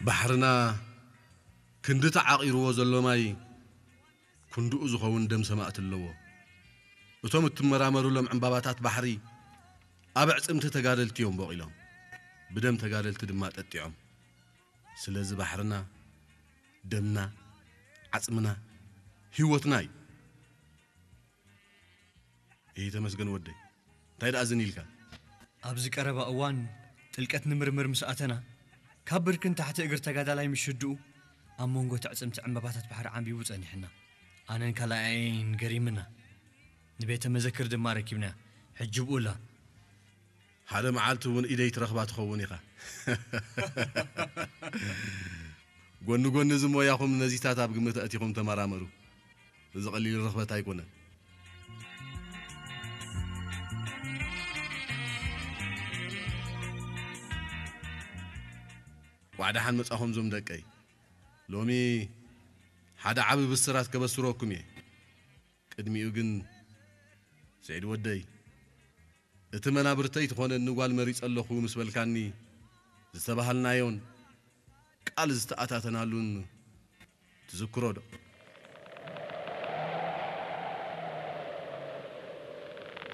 ባሕርና ክንዲ ተዓቒርዎ ዘሎ ማይ ክንድኡ ዝኸውን ደም ሰማእቲ ኣለዎ። እቶም እትመራመሩሎም ዕምባባታት ባሕሪ ኣብ ኣዕጽምቲ ተጋደልቲ እዮም ቦቒሎም፣ ብደም ተጋደልቲ ድማ ጠጢዖም። ስለዚ ባሕርና ደምና፣ ዓጽምና፣ ህይወትና እዩ። ይህ ተመስገን ወደይ፣ እንታይ ደኣ ዝን ኢልካ? ኣብዚ ቀረባ እዋን ጥልቀት ንምርምር ምስ ኣተና፣ ካብ ብርክን ታሕቲ እግሪ ተጋዳላይ ምሽድኡ ኣብ መንጎ ትዕጽምቲ ዕምባባታት ባሕሪ ዓምቢቡ ጸኒሕና። ኣነን ካልኣየይን ገሪምና። ንቤተ መዘክር ድማ ረኪብና። ሕጂ ብኡላ። ሓደ መዓልቲ እውን ኢደይ ትረኽባ ትኸውን ኢኻ። ጎኒ ጎኒ እዚ ሞያኹም ነዚታት ኣብ ግምት ኣእቲኹም ተመራመሩ። እዚ ቀሊል ርኽበት ኣይኮነን። ዋዕዳ ሓን መጻኹም ዞም ደቀይ። ሎሚ ሓደ ዓቢ ብስራት ከበስረኩም እየ። ቅድሚኡ ግን ስዒድ ወደይ፣ እቲ መናብርተይ ትኾነኒ ጓል መሪጸ ኣለኹ ምስ በልካኒ ዝተባሃልናዮን ቃል ዝተኣታተናሉን ትዝክሮ ዶ?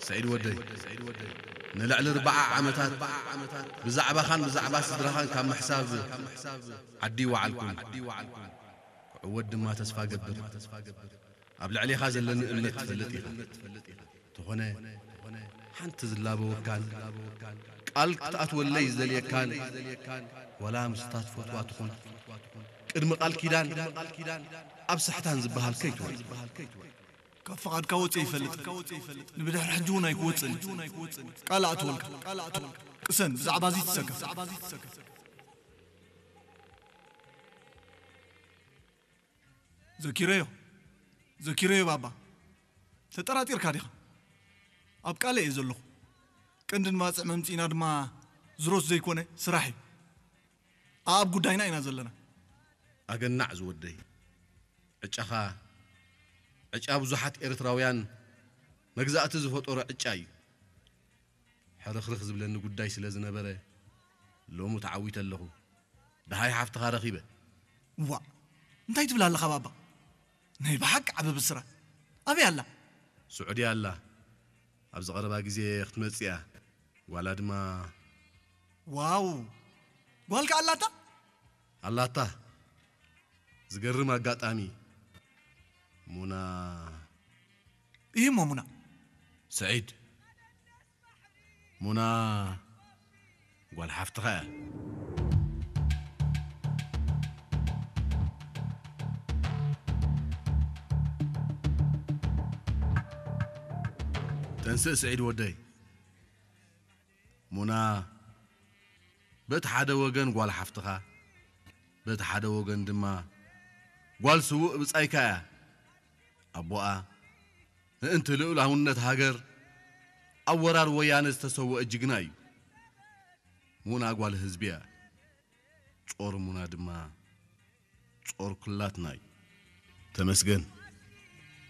ስዒድ ወደይ፣ ንልዕሊ ኣርብዓ ዓመታት ብዛዕባኻን ብዛዕባ ስድራኻን ካብ ምሕሳብ ዓዲ ይወዓልኩን ክዕወት ድማ ተስፋ ገብር። ኣብ ልዕሌኻ ዘለኒ እምነት ትፈልጥ ኢኻ። ተኾነ ሓንቲ ዝላበወካን ቃል ክትኣትወለይ ዝደልየካን ዋላ ምስታ ትፈትዋ ትኹን ቅድሚ ቃል ኪዳን ኣብ ሳሕታን ዝበሃል ከይትወል። ካብ ፍቓድካ ወፂአ ይፈልጥ። ንብድሕሪ ሕጂ እውን ኣይክወፅእን። ቃል ኣእትወልካ። ቅሰን፣ ብዛዕባ እዚ ትሰከፍ። ዘኪረዮ፣ ዘኪረዮ ባባ። ተጠራጢርካ ዲኻ? ኣብ ቃለ እየ ዘለኹ። ቀንዲ ንባጽዕ መምጺእና ድማ ዝሮት ዘይኮነ ስራሕ እዩ። ኣብ ጉዳይና ኢና ዘለና። ኣገናዕ ዝወደይ። ዕጫኻ፣ ዕጫ ብዙሓት ኤርትራውያን መግዛእቲ ዝፈጠሮ ዕጫ እዩ። ሕርኽርኽ ዝብለኒ ጉዳይ ስለ ዝነበረ፣ ሎሚ ተዓዊተ ኣለኹ። ደሃይ ሓፍትኻ ረኺበ። ዋእ፣ እንታይ ትብል ኣለኻ ባባ? ናይ ብሓቂ ዓቢ ብስራት። ኣበይ ኣላ? ስዑዲ ኣላ። ኣብዚ ቀረባ ግዜ ክትመጽእ እያ። ጓላ ድማ ዋው! ጓልካ ኣላታ? ኣላታ። ዝገርም ኣጋጣሚ። ሙና እዩ እሞ ሙና። ስዒድ። ሙና ጓል ሓፍትኻ እያ። ተንስእ ስዒድ ወደይ። ሙና በቲ ሓደ ወገን ጓል ሓፍትኻ፣ በቲ ሓደ ወገን ድማ ጓል ስዉእ ብጻይካ እያ። ኣቦኣ ምእንቲ ልኡላውነት ሃገር ኣብ ወራር ወያነ ዝተሰወአ ጅግና እዩ። ሙና ጓል ህዝቢ እያ። ጾር ሙና ድማ ጾር ኩላትና እዩ። ተመስገን፣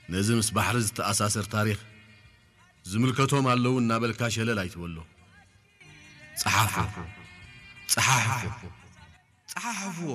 ነዚ ምስ ባሕሪ ዝተኣሳሰር ታሪኽ ዝምልከቶም ኣለዉ እናበልካ ሸለል ኣይትበሎ። ጸሓፎ፣ ጸሓሕፎ፣ ጸሓሕፍዎ።